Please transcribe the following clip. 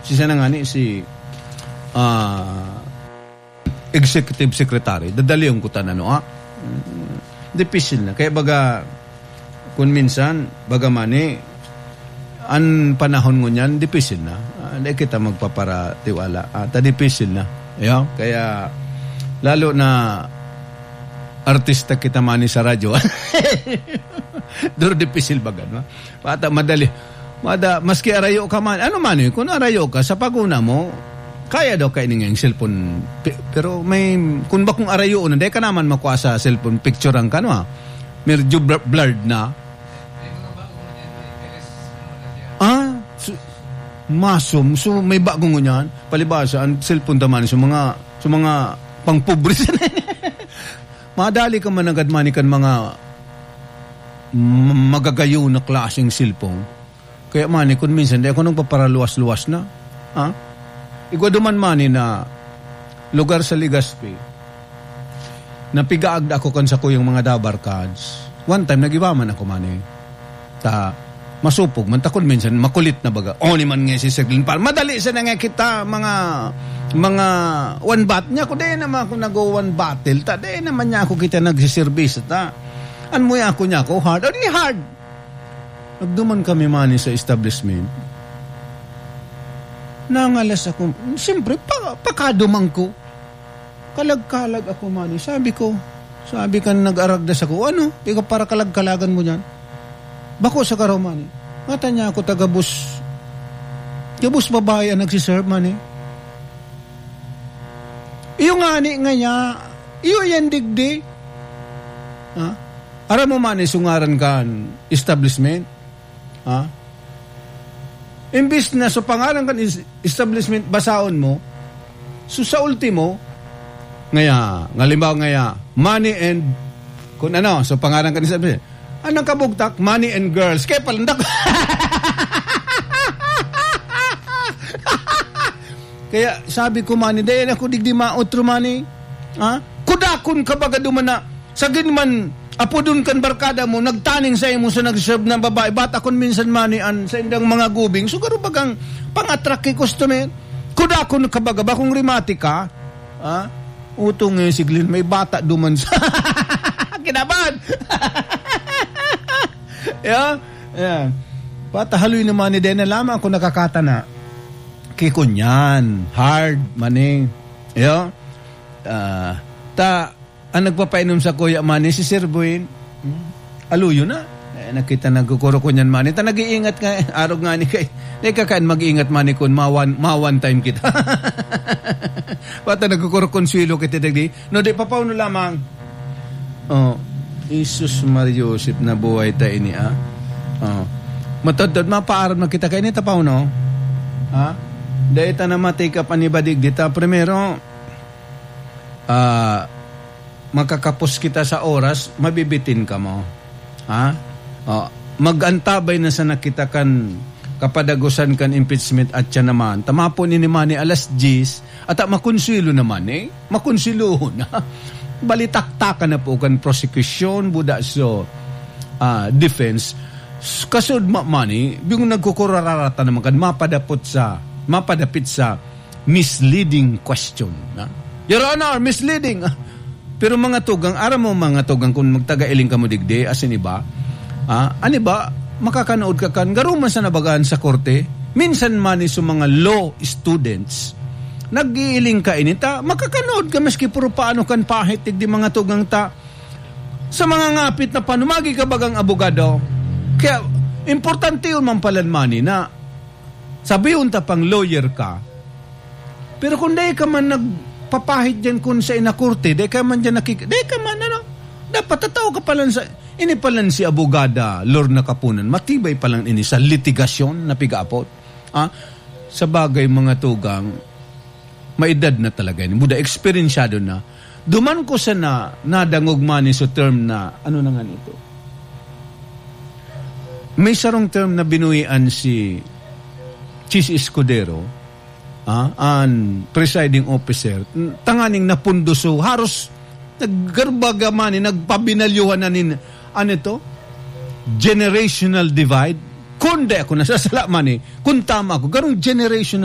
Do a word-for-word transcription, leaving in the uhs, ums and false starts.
Siya na ngani si, ah, executive secretary. Dadalion ko ta na, no, ah? Mm, dipisil na. Kaya baga, kun minsan, baga man eh, an panahon ngunyan, dipisil na. Ah, di kita magpaparatiwala. Ah, ta dipisil na. Yo? Kaya, lalo na artista kita man sa radyo. Duro dipisil baga, no? Pata madali. Mada, maski arayo ka man, ano man eh, kung arayo ka, sa paguna mo, kaya daw kaini nga yung cellphone. Pe-, pero may, kung bakong arayo na, di ka naman makuha sa cellphone, picturean ka, no, ah? Medyo bl-, blurred na. Ah, su-, masom. So, may bago ngunyan. Palibasa, ang cellphone ta man, sa mga, sa mga pangpobre sa madali ka managad man kan mga m-, magagayon na klaseng cellphone. Kaya man, eh, kung minsan, di ako nagpaparaluwas-luwas na. Ha? Igwa duman man, eh, na lugar sa Legazpi, napigaagda ako kan sakuyang mga dabarkads. One time, nag-iba man ako man, eh. Ta, masupog man, ta kung minsan, makulit na baga. O, ni man nga si Serglin pa. Madali sa na nga kita, mga, mga one bat niya. Kung di naman ako nag-one battle, ta, di naman niya ako kita nagsiservice, ta. An mo ako niya ako, hard. O, di hard. Nagduman kami man sa establishment. Nangalas ako. Siyempre, pa-, pakadumang ko. Kalag-kalag ako man. Sabi ko, sabi kan nag-aragdas ako, "Ano? Ikaw para kalag-kalagan mo niyan?" Bako sa karaw man. Ngata niya ako taga bus. Gabos babae ang nagsiserve man eh. Iyo ngani nga niya, iyo yan digdi. Ha? Aram mo man, isungaran kan establishment. Ha? Imbis na sa pangaran kan is-, establishment, basaon mo, so sa ultimo, ngaya, ngalimbawa ngaya, money and, kung ano, so pangaran kan establishment, anong kabugtak? Money and girls. Kaya palandak. Kaya sabi ko, mani, dahil ako digdi maotro, mani. Ha? Kudakon ka baga duman na, sagin man, apodon kan barkada mo, nagtaning sa imo sa nag-serve na babae. Bata kun minsan, mani, an sa indang mga gubing. So, garo bagang pang-attract kay customer. Kudakon ka baga, bakong rimati ka. Ha? Utong ngayon si Glenn, may bata duman sa kinaban. Yeah? Yeah. Patahaloy naman ni Dena, lamang ako nakakatana. Kikunyan, hard, mani. Yo? Ah, ta, ang nagpapainom sa kuya mani, si Sir Boy. Hmm? Aluyo na. Eh, nakita, nagkukuro ko niyan mani. Ta, nag-iingat nga, eh. Arog nga ni kay. Di ka kain mag-iingat mani kun mawan, mawan time kita. Bata nagkukuro konswelo kita, dagdi. No, di, papauno lamang. Oh, Jesus Maria Joseph, nabuhay ta ini, ah. Oh. Matodtod, mapaaram na kita kaini, tapaw, no? Ha? Dahil ta na matikap an ibadig dita. Primero, ah, makakapos kita sa oras, mabibitin ka mo. Ha? Oh, mag-antabay na sana kita kan kapadagosan kan impeachment at siya naman. Tama po ni, ni Manny, alas diyes, at, ah, makonsuelo naman eh. Makonsuelo na. Balitaktakan na po kan prosecution, buda so, ah, defense. S-, kasud ma-, Manny, yung nagkukurararata naman kan mapadapot sa, mapadapit sa misleading question, na? Your Honor, misleading. Pero mga tugang, aram mo mga tugang, kung magtaga-iling kamo digdi, asin iba, ah, an iba, makakanood ka kan, garo man sa nabagaan sa korte, minsan man sa mga law students, nag-iiling ka ini, ta, makakanood ka maski puro paano kan pahit, digdi mga tugang ta, sa mga ngapit na panumagi ka bagang abogado. Kaya, importante yun, Ma'am Palan Manny, na sabihon ta pang lawyer ka, pero kung dai ka man nagpapahid diyan kun sa inakorte, dai ka man diyan nakik-, dai ka man, ano, dapat tatao ka palan sa, ini palan si Abogada Lorna Kapunan, matibay palan ini sa litigasyon na pigaapot. Ah, sa bagay, mga tugang, maedad na talaga ini. Buda, eksperensyado na. Duman ko sana nadangog man sa term na, ano na nga nito? May sarong term na binuhian si Chiz Escudero, ah, an presiding officer, tanganing napunduso, haros naggarbaga man, eh, nagpabinalyuhan na nin, ano ito? Generational divide. Kung di ako nasasala man, eh, kung tama ako, garong generational